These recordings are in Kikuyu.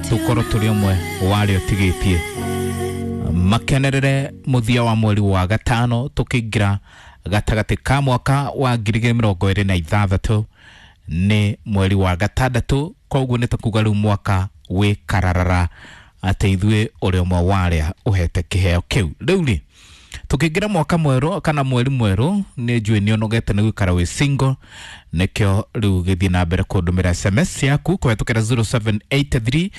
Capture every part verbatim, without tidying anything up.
Tukorwo tũrĩ ũmwe wa arĩa ũtigĩtie makenerere mũthia wa mweri wa gatano, tũkĩingĩra gatagatĩ ka mwaka wa ngiri igĩrĩ mĩrongo ĩrĩ na ithathatũ, nĩ mweri wa gatandatũ. Koguo nĩ takuga rĩu mwaka wĩ kararara atĩ ithuĩ ũrĩ ũmwe wa arĩa ũhete kĩheo kĩu. Rĩu rĩ, tukĩingĩra mwaka mwerũ kana mweri mwerũ, nĩ njũĩ nĩ ũnogete nĩ gũikara wĩ single, nĩkĩo rĩu gĩthiĩ na mbere kũndũmĩra S M S yaku kũhetũkĩra zero seven eight three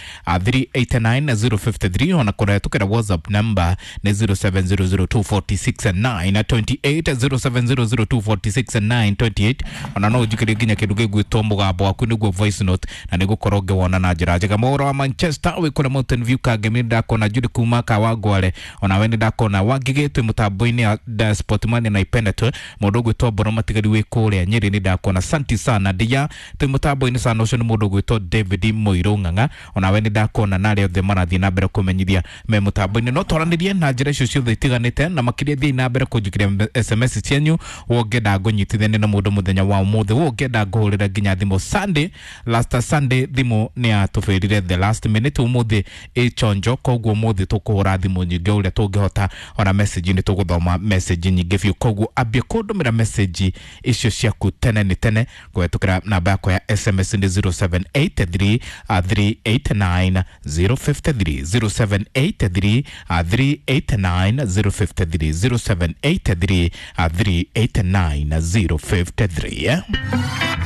three eight nine zero five three, ona kũhetũkĩra WhatsApp number nĩ zero seven zero zero two four six nine two eight, zero seven zero zero two four six nine two eight. Ona no ũnjikĩrie nginya kĩndũ gĩgwĩtwo mũgambo waku, nĩguo voice note, na nĩ gũkorwo ngĩwona na njĩra njega. Mohoro wa Manchester wĩ kũrĩa Mountain View Kangemi, nĩ ndakona Judy kuma Kawangware, ona we nĩ ndakona Wangigĩ twĩ mũtambo-inĩ ya da Sportman na ipenda tu. Mũndũ ũgwĩtwo Mboro Matigari wĩ kũrĩa Nyĩrĩ, nĩ ndakona. Santi sana ndia twĩ mũtambo-inĩ sana. Ũcio nĩ mũndũ ũgwĩtwo David Mũirũ Ng'ang'a, ona we nĩ ndakona, na arĩa othe marathiĩ na mbere kũmenyithia me mũtambo-inĩ. No twaranĩrie na njĩra icio ciothe itiganĩte, na makĩria thiĩ na mbere kũnjĩkĩria S M S cianyu. Wongenda ngũnyitithanie na mũndũ mũthenya wa ũmũthĩ, wongenda ngũhũrĩra nginya thimũ. Sunday, last Sunday, thimũ nĩ yatũbĩrire the last minute. Ũmũthĩ ĩchonjo, koguo ũmũthĩ tũkũhũra thimũ nyingĩ ũrĩa tũngĩhota, ona message nĩ tũgũthoma message nyingĩ biũ. Koguo ambia kũndũmĩra message icio ciaku tene nĩ tene kũhetũkĩra namba yakwa ya S M S nĩ zero seven eight three three eight nine zero five three, zero seven eight three three eight nine zero five three, zero seven eight three three eight nine zero five three, eh?